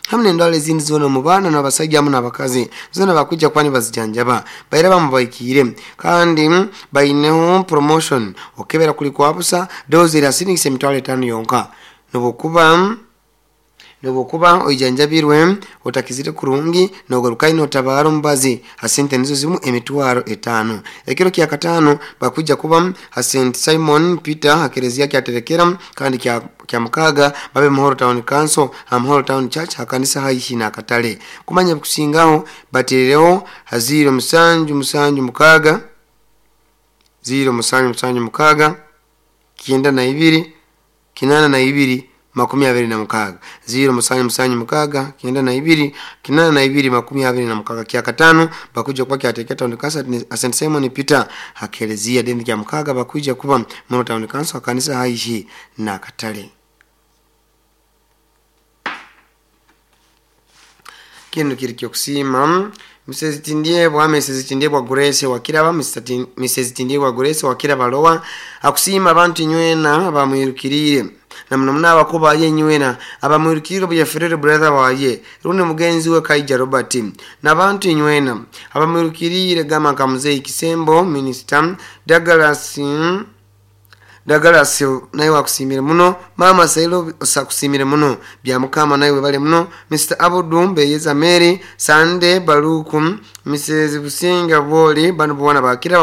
Hamu n'endwara ezindi zoona omu baana n'abasaija hamu n'abakazi zoona bakwijja kuba nibazijanjaba. Bairaba mubahikiire kandi baineho promotion okukebera kuli kwa busa, dose eri ha siringisi 50,000 yonka. Nobwokuba Nobwokuba oijanjabirwe otakizire kurungi, nogarukayo notabaara omubazi ha sente nizo zimu 50,000. Ekiro kya kataano bakwija kuba ha St Simon Peter ha kereziya kyaterekera kandi kya mukaaga babe Muhoro Town Council ha Muhoro Town Church ha kanisa haihi n'akatale. Kumanya ebikusingaho bateereho ha 0776 0776 92 82 26 0776 92 82 26. Kyakataano bakwija kuba kyateekera Town Council ha St Simon Peter ha kereziya, then kya mukaaga bakwija kuba Muhoro Town Council ha kanisa haihi n'akatale. Kinu kiri kyokusiima Mrs Tindyebwa, Mrs Tindyebwa Grace wakiraba, Mrs Tindyebwa Grace wakiraba Lowa akusiima abantu inywena abamwirukiriire na muno muno abakuba ye inywena abamwirukiriire obu yaferere brother waye rundi mugenzi we Kaija Robert n'abantu inywena abamwirukiriire gamba nka Muzeyi Kisembo Minister Douglas Douglas nawe akusiimire muno, Maama Sailo akusiimire muno, Byamukama nawe webale muno, Mr Abudu Mbeyeza Mary, Sande Baluku, Mrs Businga Bwoli banu boona bakiraba.